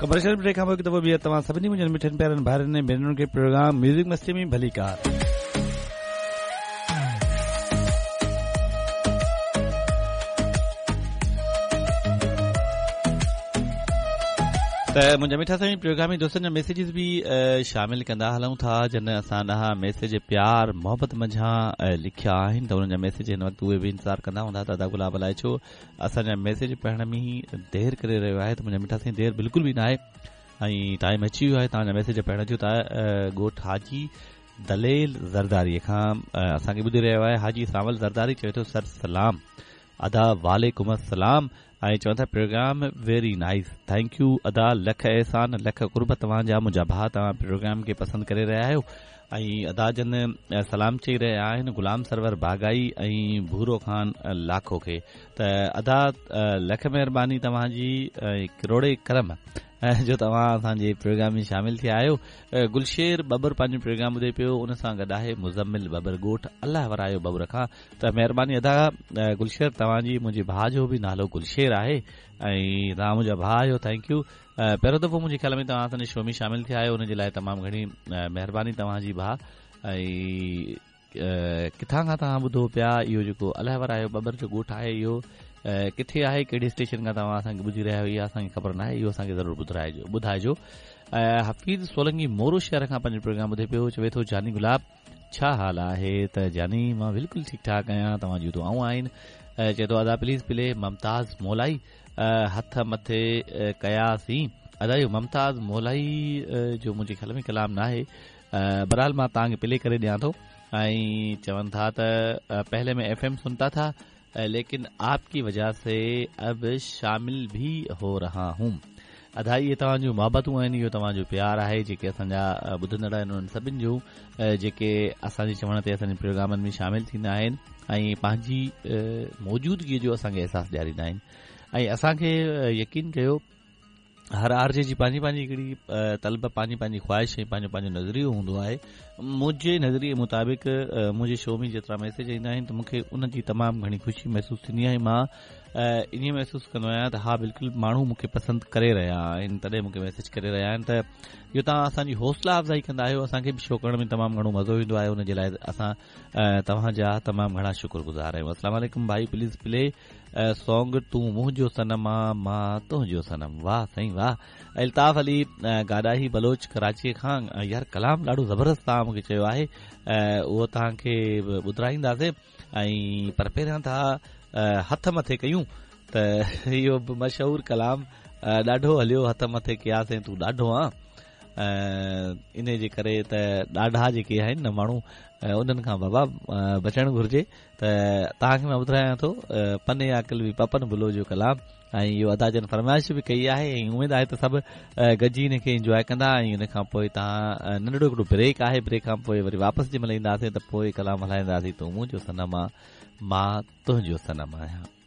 Commercial break کان پوء هڪ دفعو ٻيهر توهان سڀني منهنجن مٺن پيارن ڀائرن ۽ ڀينرن کي پروگرام ميوزڪ مستي ۾ ڀليڪار. ته منهنجا مٺا سائين پروگرامي دوستن جا ميسيجز به شامل ڪندا هلون ٿا جن اسان ڏانهن ميسيج پيار محبت منجهان لکيا آهن ته انهن جا ميسيج هن وقت اهي به انتظار ڪندا هوندا ته ادا گلاب الائي ڇو اسان جا ميسيج پڙهڻ ۾ دير ڪري رهيو آهي ته منهنجا مٺا سائين دير بلڪل به ناهي ۽ ٽائيم اچي ويو آهي توهان جا ميسيج پڙهڻ جو ته ڳوٺ حاجي دليل زرداري کان اسان کي ٻڌي رهيو آهي حاجي سانول زرداري چوي ٿو سر سلام ادا وعليڪم السلام ۽ چون ٿا programme very nice thank you ادا لک احسان لک قرب توهان جا منهنجا ڀاء توهان پروگرام کي پسند ڪري رهيا آهيو ۽ ادا جن سلام چئي رهيا آهن غلام سرور باغائي ۽ ڀورو خان لاکو کي ته ادا لک مهرباني توهان جي ۽ ڪروڙين ڪرم جو توهان اسان جي پروگرام ۾ شامل ٿيا آهيو گلشير ٻٻر پنهنجو پروگرام ٻڌي پيو ان سان گڏ آهي مزمل ٻٻر ڳوٺ الله ورايو ٻٻر کان ته مهرباني ادا گلشير توهان جي منهنجي ڀاء جو به نالو گلشير آهي ۽ توهان منهنجا ڀاء آهيو thank you پهريون دفعو منهنجي خيال ۾ توهان اسان جي شو ۾ شامل ٿيا آهيو ان جي لاء تمام گهڻي مهرباني توهان جي ڀاء ۽ ڪٿان کان توهان ٻڌو پيا اهو جيڪو الهه ورايو ٻٻر جو ڳوٺ آهي اهو ڪٿي آهي ڪهڙي اسٽيشن کان توهان اسان کي ٻڌي رهيا آهيو اها اسان کي خبر ناهي اهو اسان کي ضرور ٻڌرائجو ٻڌائجو حفيظ سولنگي مورو شهر کان پنهنجو پروگرام ٻڌي پيو چوي ٿو جاني گلاب ڇا حال آهي ته جاني مان بلڪل ٺيڪ ٺاڪ آهيان توهان جون دعائون آهن چئي ٿو ادا پليز پلي ممتاز مولائي هٿ مٿي ڪياسين ادا اهو ممتاز مولائي جو منهنجي خيال ۾ ڪلام ناهي بهرحال مان توهان کي پلي ڪري ڏيان ٿو ۽ چون ٿا ته پهلي مين ايف ايم سنتا ٿا ليڪن آپ ڪي وجه سي اب شامل ڀي هو رها هون ادا اهي توهان جون محبتون آهن اهو توهان جو پيار آهي جيڪي اسان جا ٻڌندڙ آهن انهن سڀن جون جيڪي اسان جي چوڻ تي اسان جي پروگرامن ۾ شامل ٿيندا آهن ۽ پنهنجي موجودگي جو اسان کي احساس ڏياريندا آهن ۽ اسان کي يقين ڪيو هر آر جي جي پنهنجي پنهنجي هڪڙي طلب پنهنجي پنهنجي خواهش ۽ پنهنجو پنهنجو نظريو هوندو آهي منهنجي نظريي مطابق منهنجي شو ۾ جيترا ميسيج ايندا آهن ته مون کي ان جي تمام گهڻي خوشي محسوس ٿيندي آهي مان ائين محسوس ڪندو آهيان ته ها بلڪل ماڻهو مون کي پسند ڪري رهيا آهن تڏهن مون کي ميسيج ڪري رهيا آهن ته اهو توهان اسان جي حوصلا افزائي ڪندا آهيو اسان کي به شو ڪرڻ ۾ تمام گهڻو مزو ايندو آهي ان جي لاء اسان توهان جا تمام گهڻا شڪر گذار آهيون السلام عليڪم ڀائي پليز پلي سونگ تون منهنجو صنم آ مان تنهنجو صنم واه سائين واه الطاف علي گاڏاهي بلوچ ڪراچي کان يار ڪلام ڏاڍو زبردست توهان مونکي چيو آهي اهو توهان کي ٻڌرائينداسين ۽ پر پهريان ٿا هٿ مٿي ڪيون ته اهو به مشهور ڪلام ڏاڍو هليو هٿ مٿي ڪياسين تون ڏاڍو آن انهي جي ڪري ته ڏاڍا جيڪي آهن نه ماڻهو انهن کان بابا بچڻ گهرجي ته توهان کي مان ٻڌايان ٿو پني عاقل به پپن بلو جو ڪلام ۽ اهو ادا جن فرمائش به ڪئي آهي ۽ اميد آهي ته سڀ گڏجي ان کي انجواء ڪندا ۽ ان کان پوء توهان ننڍڙو هڪڙو بريڪ آهي بريڪ کان پوء وري واپس جنهن مهل اينداسين ته پوء ڪلام هلائينداسين تون منهنجو صنم آ مان تنهنجو صنم آهيان.